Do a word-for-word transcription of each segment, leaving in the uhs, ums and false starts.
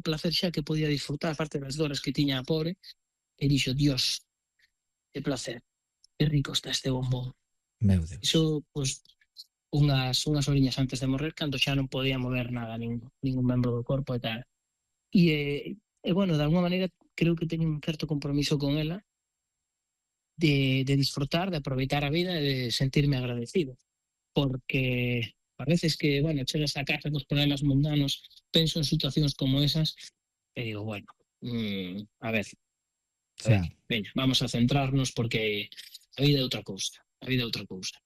placer xa que podía disfrutar, aparte das dores que tiña a pobre, e dixo, Dios, que placer, que rico está este bombón. Meu Deus. Iso, pois, unhas, unhas horiñas antes de morrer, cando xa non podía mover nada, ningún, ningún membro do corpo e tal. E, eh, e bueno, de alguma maneira, creo que teño un certo compromiso con ela de, de disfrutar, de aproveitar a vida e de sentirme agradecido. Porque a veces que, bueno, chegas a casa cos problemas mundanos, penso en situacións como esas e digo, bueno, mm, a ver, a ver, Xa. veña, vamos a centrarnos porque a vida é outra cousa, a vida é outra cousa.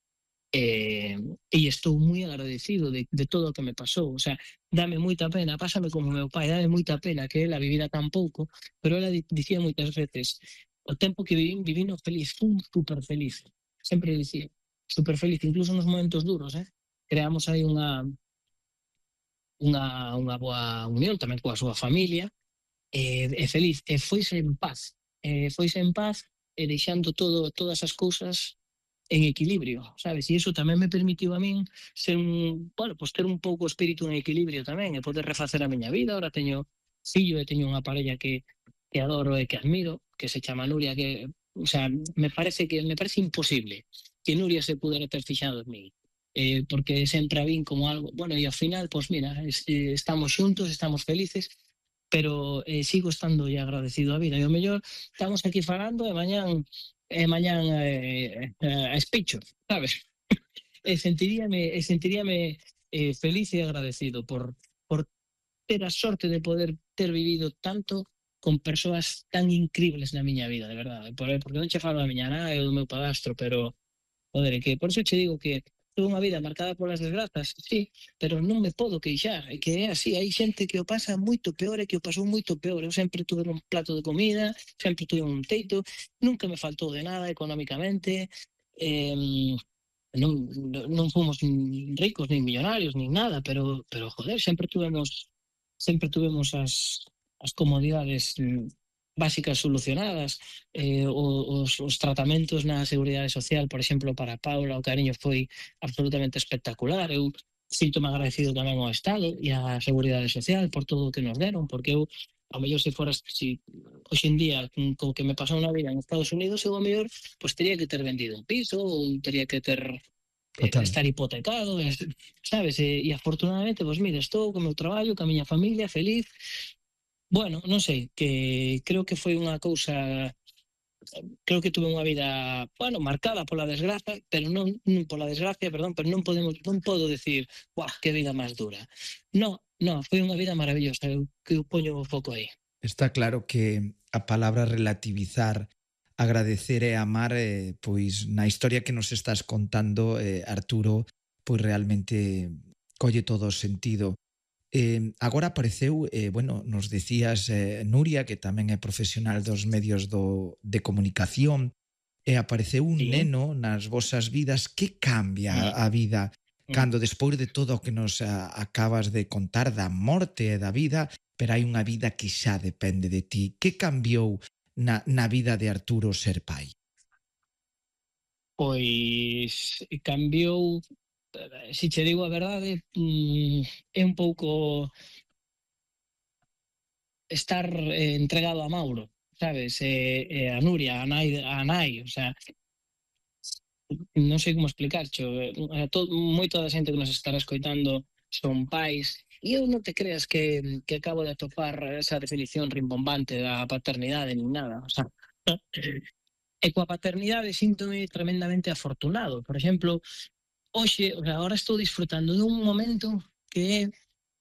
E, e estou moi agradecido de, de todo o que me pasou, o sea, dame moita pena, pásame como meu pai, dame moita pena que ela vivira tan pouco, pero ela dicía moitas veces, o tempo que vivín, vivino feliz, fun super feliz, sempre dicía, super feliz, incluso nos momentos duros, eh? Creamos aí unha unha, unha boa unión tamén coa súa familia, e, e feliz, e foise en paz, e foise en paz e deixando todo, todas as cousas en equilibrio, sabes? E iso tamén me permitiu a min ser un, bueno, pues ter un pouco o espírito en equilibrio tamén e poder refacer a miña vida. Ahora teño fillo e teño unha parella que, que adoro e que admiro, que se chama Nuria, que, o sea, me parece que me parece imposible que Nuria se pudera ter fixado en mí. Eh, porque sempre a vin como algo, bueno, e ao final, pois pues mira, es, eh, estamos xuntos, estamos felices, pero eh, sigo estando agradecido a vida. E o mellor estamos aquí falando e mañán e mañán eh, eh, a especho, sabes? E sentiríame, e sentiríame eh, feliz e agradecido por, por ter a sorte de poder ter vivido tanto con persoas tan increíbles na miña vida, de verdade. Por, porque non che falo da miña nai ou do meu padastro, pero, joder, que por eso che digo que tuve unha vida marcada polas desgrazas, sí, pero non me podo queixar, é que é así, hai xente que o pasa moito peor e que o pasou moito peor. Eu sempre tuve un plato de comida, sempre tuve un teito, nunca me faltou de nada económicamente, eh, non, non fomos ricos, nin millonarios, nin nada, pero, pero joder, sempre tuvemos, sempre tuvemos as, as comodidades mm, básicas solucionadas, eh, os, os tratamentos na Seguridade Social, por exemplo, para Paula, o cariño foi absolutamente espectacular. Eu sinto-me agradecido tamén ao Estado e á Seguridade Social por todo o que nos deron, porque eu, ao mellor se foras, si, hoxe en día, co que me pasou na vida en Estados Unidos, eu ao mellor, pues teria que ter vendido un piso, ou teria que ter eh, Total. estar hipotecado, sabes? E, e afortunadamente, pois mira, estou co meu traballo, ca miña familia, feliz. Bueno, non sei, que creo que foi unha cousa, creo que tuve unha vida, bueno, marcada pola desgraza, pero non, non pola desgracia, perdón, pero non podemos, non podo decir, guau, que vida máis dura. Non, non, foi unha vida maravillosa, eu, que eu poño o foco aí. Está claro que a palabra relativizar, agradecer e amar, eh, pois na historia que nos estás contando, eh, Arturo, pois realmente colle todo o sentido. Eh, agora apareceu, eh, bueno, nos decías, eh, Nuria, que tamén é profesional dos medios do, de comunicación, e apareceu un Sí. neno nas vosas vidas. Que cambia Mm. a vida Mm. cando despois de todo o que nos a, acabas de contar da morte e da vida, pero hai unha vida que xa depende de ti? Que cambiou na, na vida de Arturo ser pai? Pois cambiou, se che digo a verdade, mm, é un pouco estar eh, entregado a Mauro, sabes? E, e a Nuria, a nai, a nai, o sea, non sei como explicarcho. Eh, to, moita da xente que nos estará escoitando son pais, e eu non te creas que, que acabo de atopar esa definición rimbombante da paternidade nin nada, o sea, e coa paternidade síntome tremendamente afortunado. Por exemplo, hoxe, o sea, ahora estou disfrutando dun momento que é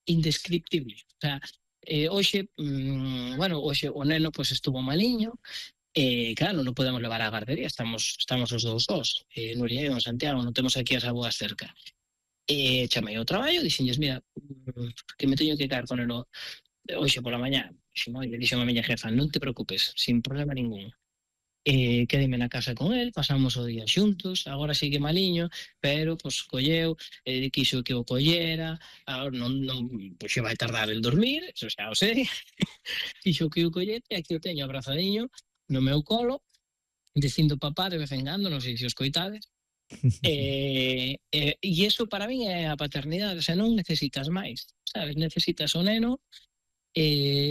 indescriptible. O sea, eh, hoxe, mm, bueno, hoxe o neno pues estuvo maliño, e claro, non podemos levar á gardería, estamos estamos os dous sós, eh, Nuria e o Santiago, non temos aquí as aboas cerca. E chamei ao traballo, dixenlles, mira, mm, que me teño que caer con el hoxe pola mañá. Dixen, oye, dixen a miña jefa, non te preocupes, sin problema ningún. Eh, quedeme na casa con el, pasamos o día xuntos, agora sigue maliño, pero pues colleu, eh, quiso que o collera, agora non, non, pues xe vai tardar el dormir, eso xa o sei, quiso que o collete, aquí o teño abrazadiño no meu colo, dicindo papá de vez en cando, non sei se os coitades, e, e, e iso para min é a paternidade, o sea, non necesitas máis, sabes, necesitas o neno, eh,